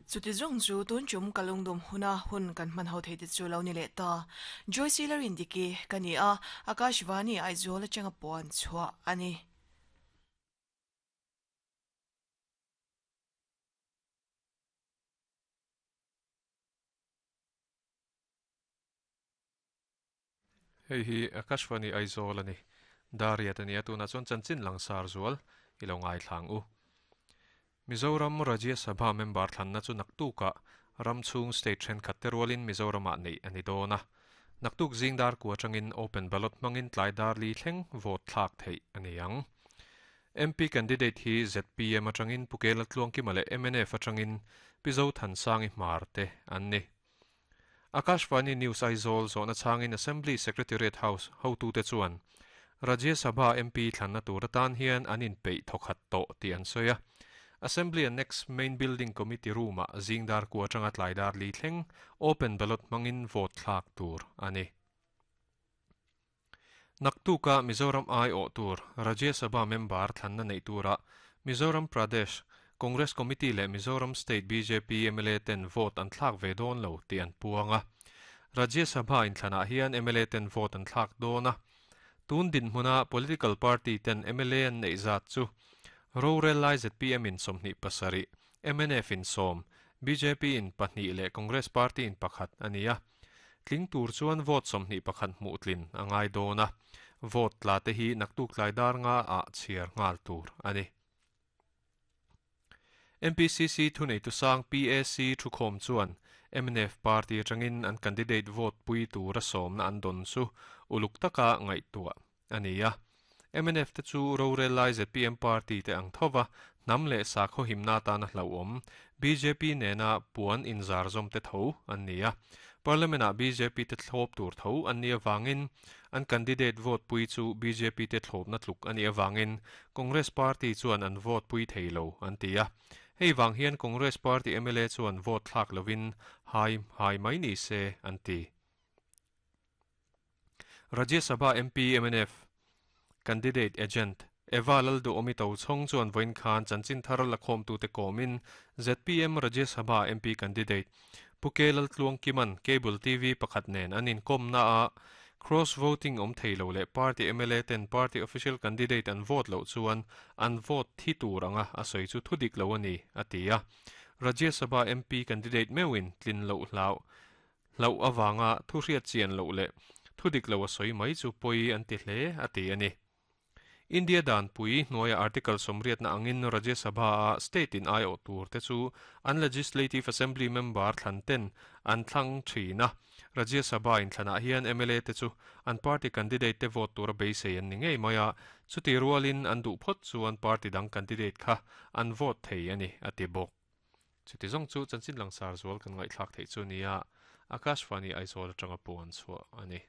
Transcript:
Chuti zawng chu tun tum ka lungdum huna hun kan hman ho thei te chu lo ni leh ta. Joyce Lalrindiki ka ni a, Akashvani Aizawl atanga puan chhuah a ni. Hei hi Akashvani Aizawl a ni. Dariat a ni a, tunah chuan chanchin langsar zual i lo ngaithla ang u. Mizoram Rajya Sabha member thlanna chu naktukah ram chhung state thenkhat te rualin Mizoramah neih a ni dawn a. Naktuk zing dar kua atangin open ballot hmangin tlai dar li thleng vote thlak theih a ni ang. MP candidate hi zpm atangin Pu Kela Tluangkima leh mnf atangin Pi Zothansangi Hmar te an ni. Akashvani News Aizawl zawhna chhangin Assembly Secretariat House hotute chuan Rajya Sabha MP thlanna tur atan hian an inpeih thawkhat tawh tih an sawi a. Assembly Annex Main Building Committee Room-ah zing dar kua atanga tlai dar li thleng open ballot hmangin vote thlak tur a ni. Naktuka Mizoram aiawh tur Rajya Sabha member thlanna neih turah Mizoram Pradesh Congress Committee leh Mizoram State bjp mla ten vote an thlak ve dawn lo tih an puang a. Rajya Sabha inthlanah hian mla ten vote an thlak dawn a. Tun dinhmuna political party ten mla an neih zat chu rorel lai zpm in 27, mnf in 10, bjp in 2 leh Congress party in 1 a ni a. Tling tur chuan vote 21 hmuh tlin a ngai dawn a, vote tla te hi naktuk tlai dar nga ah chhiar nghal tur a ni. MPCC thuneitu sang PAC thukhawm chuan mnf party atangin an candidate vote pui tura sawmna an dawn chu uluk taka ngaihtuah a ni a. Mnf te chu rorel lai zpm party te ang thova hnam leh sakhaw himna atana hlauhawm bjp nena puan inzar zawm te tho an ni a. Parliament ah bjp te thlawp tur tho an nih avangin an candidate vote pui chu bjp te thlawpna tluk a nih avangin Congress party chuan an vote pui thei lo an ti a. Hei vang hian Congress party mla chuan vote thlak lovin hai hai mai ni se an ti. Rajya Sabha MP mnf candidate agent Eva Lalduhawmi Tochhawng chuan vawiin khan chanchin thar lakhawmtute kawmin zpm Rajya Sabha MP candidate Pu K Laltluangkiman Cable TV pakhat nen an inkawmna a cross voting awm thei lo leh party mla ten party official candidate an vote loh chuan an vote thi tur anga a sawi chu thudik lo a ni a ti a. Rajya Sabha MP candidate meuhin tlin loh hlau Hlauh avanga thu hriat chian loh leh thu dik lo a sawi mai chu pawi an ti hle a ti a ni. India danpui hnuaia Article sawmriatna angin Rajya Sabha-a state in aiawh tur te chu an Legislative Assembly member thlan ten an thlang thin a. Rajya Sabha inthlanah hian mla te chu an party candidate te vote tura beisei an ni ngei mai a, chuti rualin an duh phawt chuan party dang candidate kha an vote thei a ni a ti bawk. Chuti zawng chu chanchin langsar zual kan ngaihthlak theih chu nia, Akashvani Aizawl atanga puan chhuah a ni.